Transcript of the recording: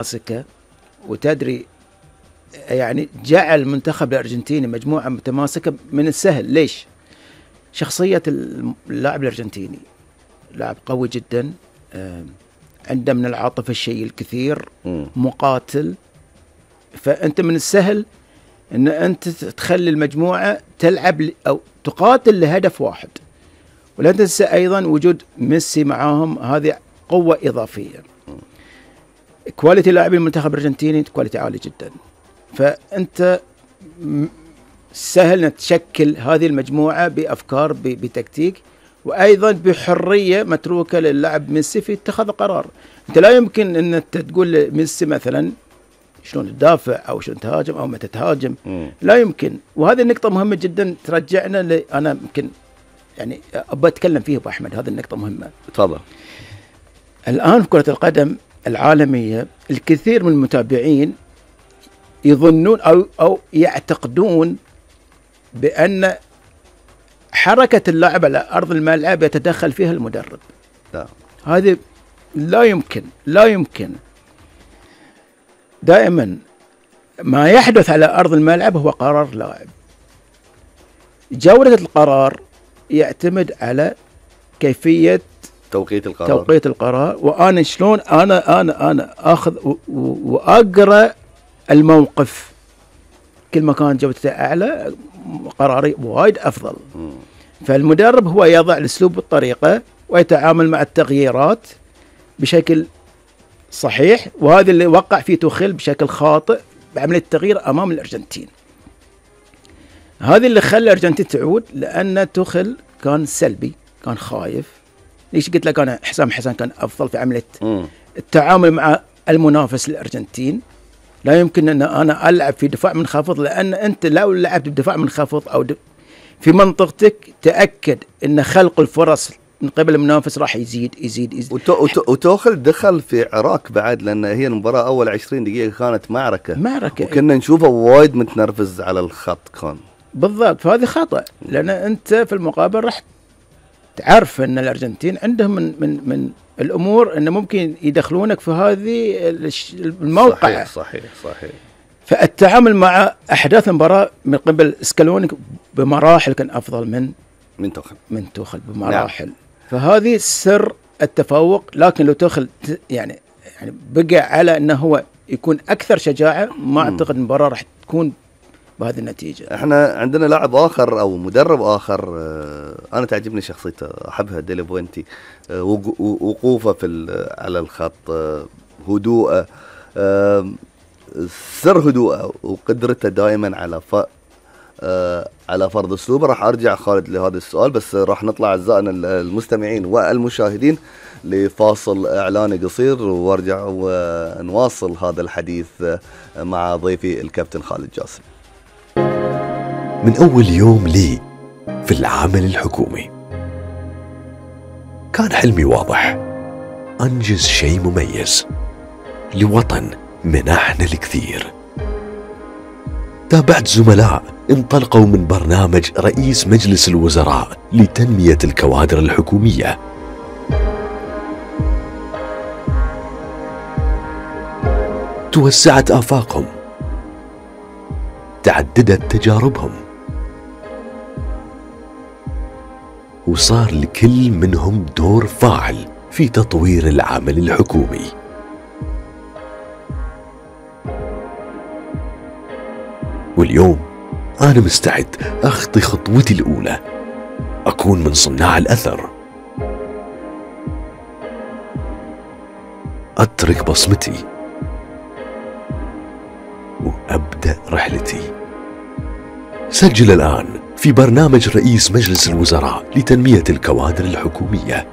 متماسكة، وتدري يعني جعل المنتخب الأرجنتيني مجموعة متماسكة من السهل. ليش؟ شخصية اللاعب الأرجنتيني لاعب قوي جدا، عنده من العاطفة الشيء الكثير، مقاتل. فأنت من السهل أن أنت تخلي المجموعة تلعب أو تقاتل لهدف واحد. ولا تنسى أيضا وجود ميسي معاهم، هذه قوة إضافية. كواليتي لاعبي المنتخب الأرجنتيني كواليتي عالي جدا. فأنت سهل أن تشكل هذه المجموعة بأفكار، بتكتيك، وأيضا بحرية متروكة للاعب ميسي في اتخاذ قرار. أنت لا يمكن أن أنت تقول لميسي مثلا شلون تدافع أو شلون تهاجم أو متى تهاجم، لا يمكن. وهذه النقطة مهمة جدا ترجعنا أنا يمكن يعني أبغى أتكلم فيه أبو أحمد، هذه النقطة مهمة. تفضل. الآن في كرة القدم العالمية الكثير من المتابعين يظنون أو يعتقدون بأن حركة اللاعب على أرض الملعب يتدخل فيها المدرب. لا. هذه لا يمكن، لا يمكن. دائما ما يحدث على أرض الملعب هو قرار لاعب. جودة القرار يعتمد على كيفية توقيت القرار. وأنا شلون أنا أخذ وأقرأ الموقف. كل ما كان جودته أعلى قراري وايد أفضل. فالمدرب هو يضع الأسلوب والطريقة ويتعامل مع التغييرات بشكل صحيح، وهذا اللي وقع فيه توخيل بشكل خاطئ بعملية التغيير أمام الأرجنتين. هذا اللي خلى الأرجنتين تعود، لأن توخيل كان سلبي، كان خايف. ليش قلت لك أنا حسام حسن كان أفضل في عملية التعامل مع المنافس الأرجنتين. لا يمكن أن أنا ألعب في دفاع منخفض، لأن أنت لو لعبت بدفاع منخفض أو في منطقتك تأكد أن خلق الفرص من قبل المنافس راح يزيد. وتوخل دخل في عراك بعد، لأن هي المباراة أول 20 دقيقة كانت معركة وكنا نشوفه وايد متنرفز على الخط كان. بالضبط. فهذه خطأ، لأن أنت في المقابل راح تعرف أن الأرجنتين عندهم من الأمور أنه ممكن يدخلونك في هذه الموقع. صحيح. فالتعامل مع أحداث المباراة من قبل سكالوني بمراحل كان أفضل من توخل بمراحل. نعم. فهذه سر التفوق. لكن لو توخل يعني بقى على أنه هو يكون أكثر شجاعة، ما أعتقد المباراة راح تكون بهذه النتيجة. احنا عندنا لاعب آخر أو مدرب آخر أنا تعجبني شخصيته، أحبها، ديلي بوينتي. وقوفه على الخط، هدوءه، سر هدوءه وقدرته دائما على فرض اسلوبه. راح ارجع خالد لهذا السؤال، بس راح نطلع اعزائنا المستمعين والمشاهدين لفاصل اعلاني قصير، وارجع ونواصل هذا الحديث مع ضيفي الكابتن خالد جاسم. من اول يوم لي في العمل الحكومي كان حلمي واضح، انجز شيء مميز لوطن منحنا الكثير. تابعت زملاء انطلقوا من برنامج رئيس مجلس الوزراء لتنمية الكوادر الحكومية. توسعت آفاقهم، تعددت تجاربهم، وصار لكل منهم دور فاعل في تطوير العمل الحكومي. واليوم أنا مستعد أخطي خطوتي الأولى، أكون من صناع الأثر، أترك بصمتي وأبدأ رحلتي. سجل الآن في برنامج رئيس مجلس الوزراء لتنمية الكوادر الحكومية